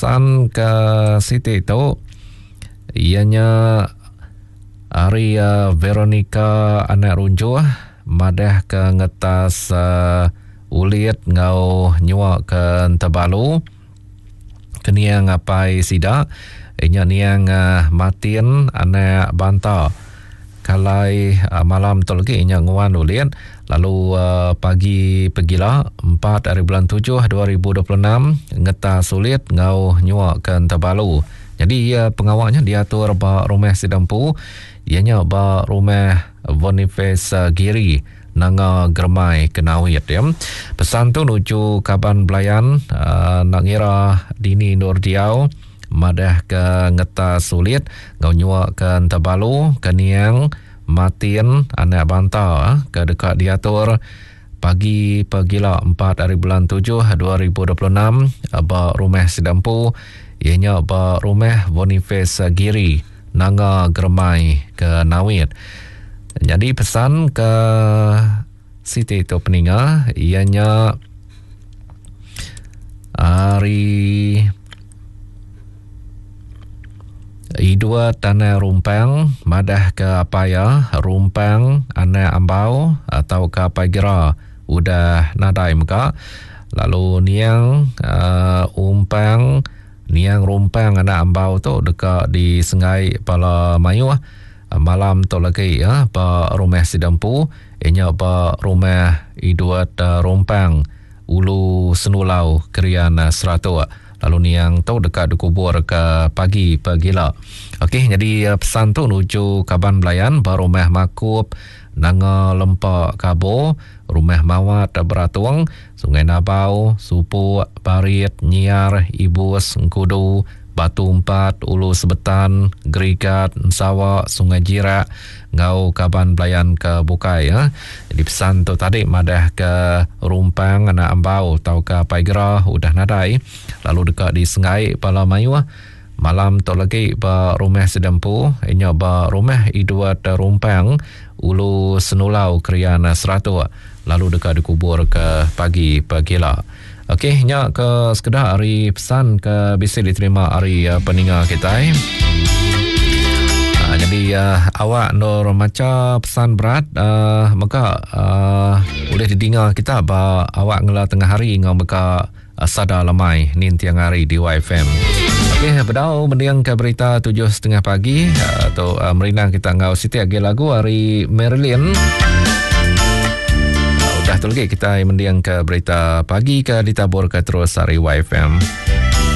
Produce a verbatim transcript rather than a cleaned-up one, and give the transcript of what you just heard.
Pesan ke siti tu ianya ari uh, Veronica anak Runjuh madah ke ngetas uh, ulit ngau nyua ke Entebalu keniang apai sida inya niang uh, Martin anak Banta. Kalai uh, malam tu lagi inya nguan ulit lalu uh, pagi pegila empat hari bulan tujuh dua ribu dua puluh enam ngetas ulit ngau nyua ke Entebalu. Jadi uh, pengawaknya diatur ba rumah Sidampu ianya ba rumah Boniface uh, Giri Nanga Germai Kenawit ya. Pesan tu nuju kaban belayan uh, nak ngira dini Nur Diau madah ke ngetas sulit ngau nyua ke Entebalu ke niang Martin anak Banta ke dekat diatur pagi pegila empat hari bulan tujuh dua ribu dua puluh enam ba rumah Sidampu ianya ba rumah Boniface Giri Nanga Germai ke Nawit. Jadi pesan ke siti tu peninga ianya hari Idua Tanah Rumpang madah ke apa ya Rumpang anak Ambau atau ke apa gira udah nadai mega lalu niang uh, Umpang niang Rumpang anak Ambau tu dekat di Sengai Pala Mayuh malam tu lagi ya ba rumah Sidampu inya ba rumah Idua Rumpang Ulu Senulau Krian Seratuk. Lalu niang tu dekat dikubur ke pagi pegila. Okey, jadi pesan tu nuju kaban belayan ba rumah Makup Nanga Lempa Kabo, rumah Mawat Beratung, Sungai Nabau, Supuk, Parit, Nyiar, Ibus, Engkudu, Batu Empat, Ulu Sebetan, Gerigat, Sawa, Sungai Jirak, ngau kaban belayan ke bukai ya. Jadi pesan tu tadi madah ke Rumpang anak Ambau atau ke Paigra udah nadai lalu dekat di Sengai Pala Mayuh malam tu lagi ba rumah Sidampu inya ba rumah Idwat Rumpang Ulu Senulau Krian Seratuk lalu dekat dikubur ke pagi pegila. Okey, nya ke sekedar hari pesan ke bisa diterima hari uh, peninga kita. Uh, jadi uh, awak nur maca pesan berat uh, maka uh, boleh didengar kita ba awak ngela tengah hari ngau mega uh, sada lemai nin tiang hari di Y F M. Okey, bedau mendiang ke berita tujuh setengah pagi uh, tu uh, merinang kita ngau siti agi lagu hari Marilyn. Dah tu lagi kita mendiang ke berita pagi ke ditabur ke terus hari Y F M.